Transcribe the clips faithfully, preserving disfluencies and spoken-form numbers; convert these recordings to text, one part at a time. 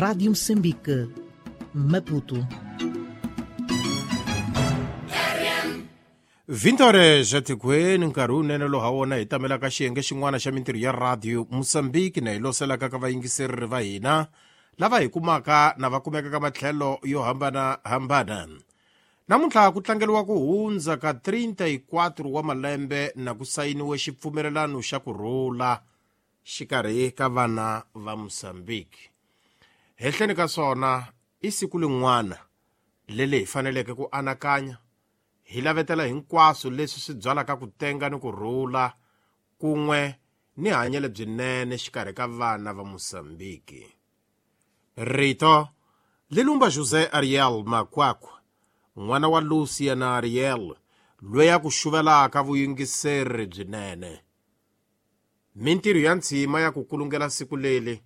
Rádio Moçambique, Maputo. vinte horas etikweni nkarhi wunene lowu ha wona hi tamelaka xiyenge xin'wana xa mintirho ya radio Mozambique na hi loselaka ka vayingiseri va hina lava hi kumaka na va kumeka ka matlhelo yo hambanahambana. Namuntlha ku tlangeriwa ku hundza ka trinta e quatro wa malembe na ku sayiniwe xipfumelelano xa ku rhula xikarhi ka vana va Mozambique. Hehleni ka swona i siku lin'wana leli hi faneleke ku anakanya hi lavetela hinkwaswo leswi swi byalaka ku tenga ni ku rhula kun'we ni hanyelo lebyinene xikarhi ka vana va Mozambique. Rito Lilumba José Ariel Makwakwa, n'wana wa Lucia na Ariel, loyi a ku xuvelaka vuyingiseri byinene. Mintirho ya ntshima ya ku kulungela siku leli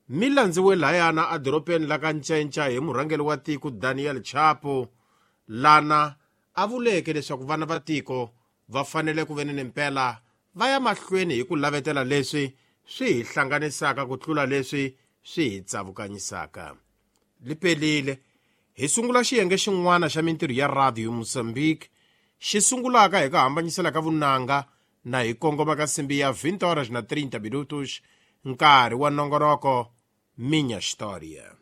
mi landziwe layana edorobeni la ka Ncenca hi murhangeri wa tiko Daniel Chapo, lana a vuleke leswaku vana va tiko va fanele ku veni ni mpela va ya mahlweni hi ku lavetela leswi swi hi hlanganisaka ku tlula leswi swi hi tsavukanyisaka. Lipelile hi sungula xiyenge xin'wana xa mintirho ya Radio Mozambique xi sungulaka hi ku hambanyisela ka vunanga na hi kongoma ka nsimbi ya vinte horas na trinta minutos, nkarhi wa nongonoko Minha História.